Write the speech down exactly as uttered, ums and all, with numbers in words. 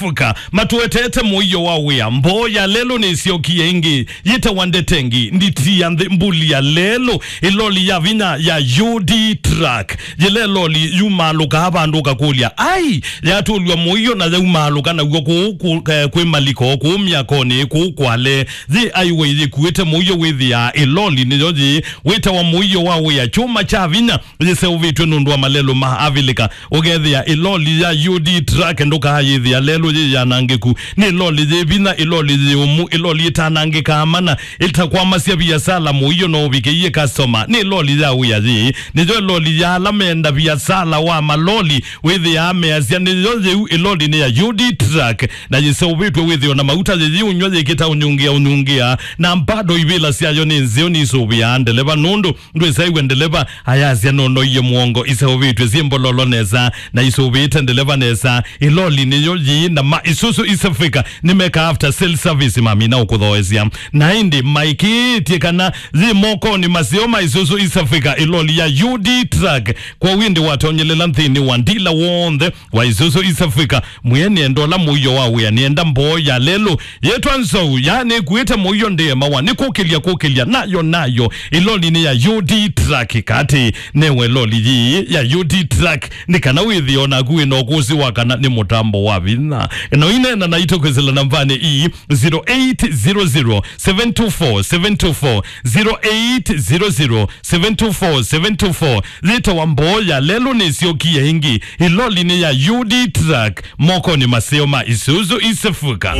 Africa, matũetete mũio wa wĩa. Mboo ya lelũ nĩsyokie ĩngĩ, yĩtawa ndetengi, nditi ya nthĩ, mbuli ya lelũ, ĩloli ya vinya ya U D truck. Yĩla ĩloli yumaalũkaa vandũ ũkakũlya, ai, yatũlw'a mũio na yaumaalũka naw'o kũu kũ-, eh, kwĩ maliko, kũu myakonĩ, kũu kwale. Yĩ highway yĩkuĩte mũio wĩthĩaa ĩloli nĩyo yĩĩ. Wĩtawa mũio wa wĩa, kyũma kya vinya yĩseũvĩtw'e nũndũ wa malelũ ma Avilika. Ũkethĩa ĩloli ya U D truck ndũkaayĩthĩa lelũ yĩ yanangĩku. Nĩ ĩloli yĩ vinya, ĩloli yĩ ũmu, ĩloli ĩtanangĩkaa mana, ĩtakwamasya viasala mũio no ũvikĩie customer. Nĩ ĩloli ya wĩa yĩĩ. Nĩyo ĩloli ya ala menda viasala wa maloli, wĩthĩaa measya nĩyo yĩu ĩloli nĩ ya U D truck, na yĩseũvĩtw'e wĩthĩo na mauta yĩyĩũnyw'a yĩkĩta ũnyungĩa ũnyungĩa, na mbado ivĩla syayo nĩ nzeo nisũvĩaa ndeleva nũndũ ndwĩsaĩw'e ndeleva ayasya nonoie mũongo. Iseũvĩtw'e syĩ mbololo nesa na isũvĩĩte ndeleva nesa. Ĩloli nĩyo yĩĩ na ma Isuzu East Africa nĩmeka after sale service mamina ũkũthoesya. Na ĩndĩ maĩkĩĩtye kana yĩ mokonĩ maseo ma Isuzu East Africa ĩloli ya U D truck. Kwoou ĩndĩ watonyelela nthĩnĩ wa ndila w'onthe wa Isuzu East Africa, mwĩe nĩenda ũla mũio wa wĩa, nĩenda mboo ya lelũ yĩtwa nzou, ya nĩkuĩte mũio ndĩemawa, nĩ kũkĩlya kũkĩlya, nayo nayo ĩlolinĩ ya U D truck. Katĩ newe loli yĩĩ ya U D truck, nĩ kana wĩthĩe o naku wĩ na ũkũsĩ wa kana nĩ mũtambo wa vinya. Na ũineena naitũ kwĩsĩla nambanĩ ii, zero eight zero zero, seven two four, seven two four, zero eight zero zero, seven two four, seven two four. Yĩtawa mboo ya lelũ nĩsyokie ĩngĩ ĩlolinĩ ya U D truck, mokonĩ maseo ma Isuzu East Africa.